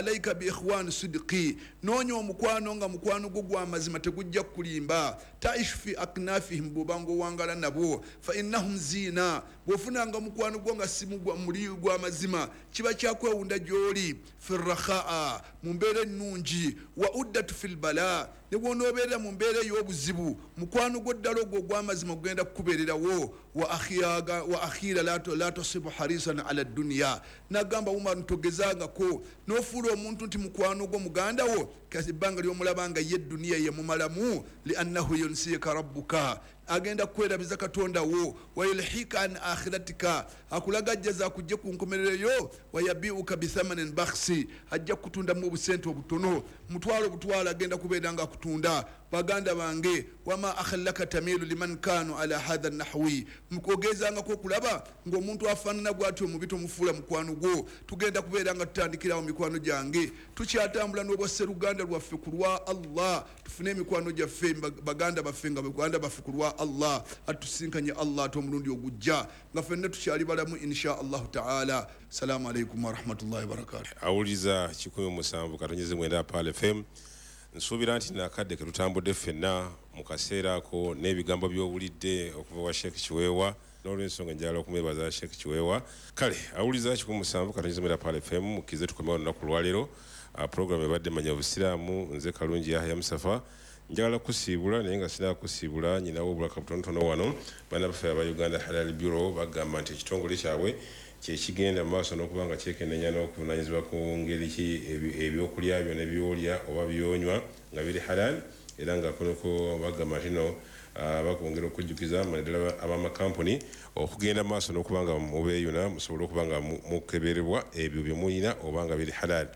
Alaika bi ikhwani sidqi, noonya omukwano nga mukwano gwo gwa mazima, tegujja kukulimba. Taishu fi aknafihim, bw'obanga owangala nabo, fa innahum ziina. Bw'ofunanga mukwano gwo nga si muli gwa mazima, kiba kyakwewunda gy'oli. Fi rakhaa, mu mbeera ennungi, wa uddatu fi lbala, ne bw'onoobeerera mu mbeera ey'obuzibu, mukwano gwo ddala ogwo ogw'amazima gugenda kukubeererawo. Wa akhira la tasibu harisan ala dduniya. Nagamba Umar, ntogezangako n'ofuula omuntu nti mukwano gwo, muganda wo, kasi ebbanga ly'omulaba nga ye duniya yemumalamu. Liannahu yunsiyika rabbuka, agenda kukwerabiza Katonda wo. Wayulhika an akhiratika, akulagajjaza akujje ku nkomerereyo. Wayabiuka bithamanin bakhsi, ajja kukutundamu obusente obutono, mutwalo butwalo, agenda kubeera nga akutunda. Baganda bange, wama akhallaka tamilu liman kanu ala hatha nahwi, mukogezangako okulaba ng'omuntu afaanana bw'atyo omubi tomufuula mukwano gwo. Tugenda kubeera nga tutandikirawo, mikwano gyange, tukyatambula n'obwasseruganda lwaffe ku lwa Allah. Tufune emikwano gyaffe, baganda baffe, nga baganda baffe ku lwa Allah. Atusinkanye Allah ate omulundi ogujja nga ffenna tukyali balamu, insha Allahu taala. Salaamu alaikum warahmatullahi wabarakatu. Awuliriza 107.9 Pearl FM, nsuubira nti nakadde ke tutambudde ffenna mu kaseera ako n'ebigambo by'owulidde okuva wa Sheekh Kiweewa. N'olwensonga njagala okumwebaza Sheekh Kiweewa. Kale awuliriza 107.9 Pearl FM, mukkirize tukomewo olunaku lwaleero. Program ebadde Manya Obusiraamu. Nze Kalungi Yahya Musafa. Njagala kusiibula, naye nga sinaba kusiibula, nyinawo obulaka butonotono wano. Baana baffe aba Uganda Halal Bureau bagamba nti ekitongole kyabwe kyekigenda mu maaso n'okuba nga kyekenenya n'okuvunanyizibwa ku ngeri ki ebyokulya byo ne byolya oba byonywa nga biri halal. Era nga kunoko bagamba nti no bakwongera okujjukiza naddala abamakampuni okugenda mu maaso n'okuba nga mubeeyuna, musobole okuba nga mukeberebwa ebyo bye muyina oba nga biri halal.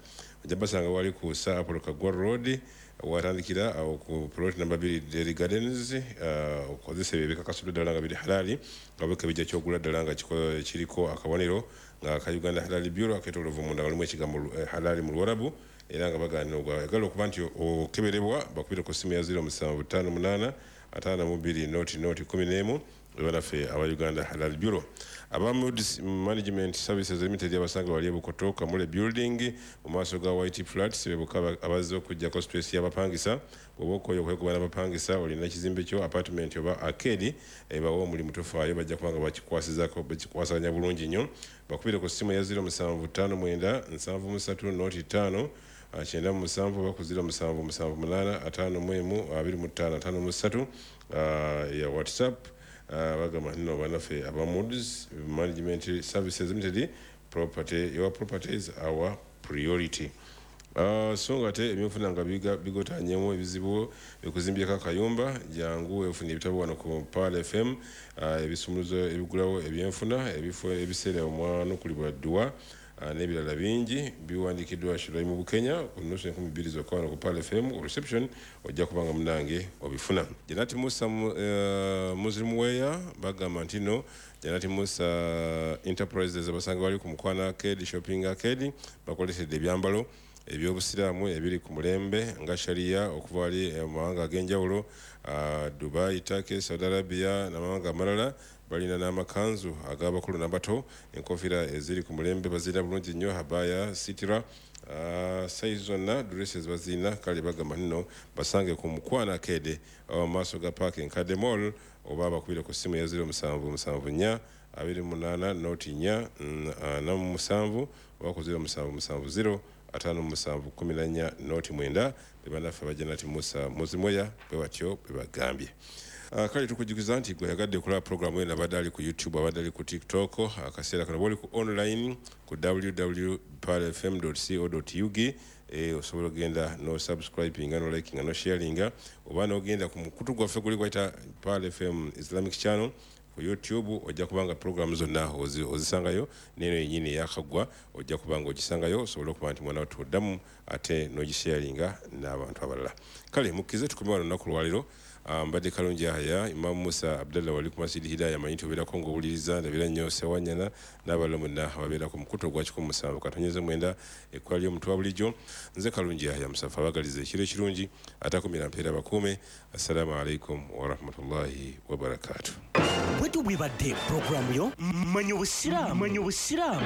Ojja basanga wali ku Sir Apollo Kagwa Road, watandikira awo ku plot number 2, Dairy Gardens. Okozesa ebyo ebikakasuddwa ddala nga biri halali, nga bwekebejja kyogula ddala nga kiriko akabonero nga ka Uganda Halal Bureau aketoloovu munda, walimu ekigambo halali mu Luwarabu. Era nga bagaanira ogwagala okuba nti okeberebwa, bakubire ku ssimu ya 0758 52 00 11, banaffe aba Uganda Halal Bureau. Aba Moods Management Services Limited abasanga wali ebukoto, Kamule Building, mu maaso ga White Flats, bebuka abazze okuggyako stress y'abapangisa. Bw'oba okoye okwekuba n'abapangisa, olina ekizimbe kyo, apartment oba arcade, bawe omulimu, tofaayo, bajja kuba nga bakikwasizako, bakikwasaganya bulungi nnyo. Bakubire ku ssimu ya 0759 73 05 97 oba ku 0778 51 25 53 ya WhatsApp. Bagamba nno banaffe aba Moods Management Services Limited, property, your property is our priority. So nga ate ebyenfuna nga bigotanyemu ebizibu ekuzimbyeko akayumba, jangu efuna ebitabo wano ku Pearl FM, ebisumuluzo ebigulawo ebyenfuna, ebifo ebiseera omwanukulibwa dduwa, n'ebirala bingi, biwandiikiddwa Shuraimu Bukenya ku nusu 2000 zokka. Wano ku Pearl FM reception ojja kubanga munange obifuna. Janati Musa Muslim Wear, bagamba nti no Janati Musa Enterprises abasanga bali ku Mukwana Arcade, Shopping Arcade, bakolesedde ebyambalo ebyobusiraamu ebiri ku mulembe nga sharia, okuva wali mu mawanga ag'enjawulo, Dubai, Turkey, Saudi Arabia n'amawanga amalala. Balina n'amakanzu ag'abakulu n'abato, enkofiira eziri ku mulembe bazirina bulungi nnyo, habaya, sitira, size zonna, dresses bazirina. Kale bagamba nno basange ku Mukwana Arcade mu maaso ga Park Enkadde Mall, oba bakubire ku ssimu ya 0774 28 04 47 oba ku 0770 57 14 09. Be bannaffe Abajanati Musa Muzimoya, bwe batyo bwe bagambye. Kale tukujjukiza nti gwe yagadde okulaba programu eno, abadde ali ku YouTube, abadde ali ku TikTok, akaseera kano bwoli ku online ku www pearlfm co ug, osobola ogenda no subscribinga, no likinga, no sharinga, oba nogenda ku mukutu gwaffe guli gwayita Pearl FM Islamic Channel ku YouTube, ojja kubanga programu zonna ozisangayo, neno yenyini eyakaggwa ojja kubanga ogisangayo, osobole okuba nti mwana wattu oddamu ate n'ogisharinga n'abantu abalala. Kale mukkirize tukome wano olunaku lwaleero. Mbadde Kalungi Yahaya. Imamu Musa Abdallah wali ku Masjid Hidaya, manyi nti obeerako ng'owuliriza, ndabira nnyo Sewanyana n'abalala mwenna ababeera ku mukutu ogwa 107.9, ekkola ly'omuntu wa bulijjo. Nze Kalungi Yahaya Musafa, abagaliza ekiro ekirungi, atakumira mpeera bakuume. Assalaamu alaikum warahmatullahi wabarakatuh. Bwetu bwebadde puroguramu yo Manya Obusiraamu. Manya Obusiraamu.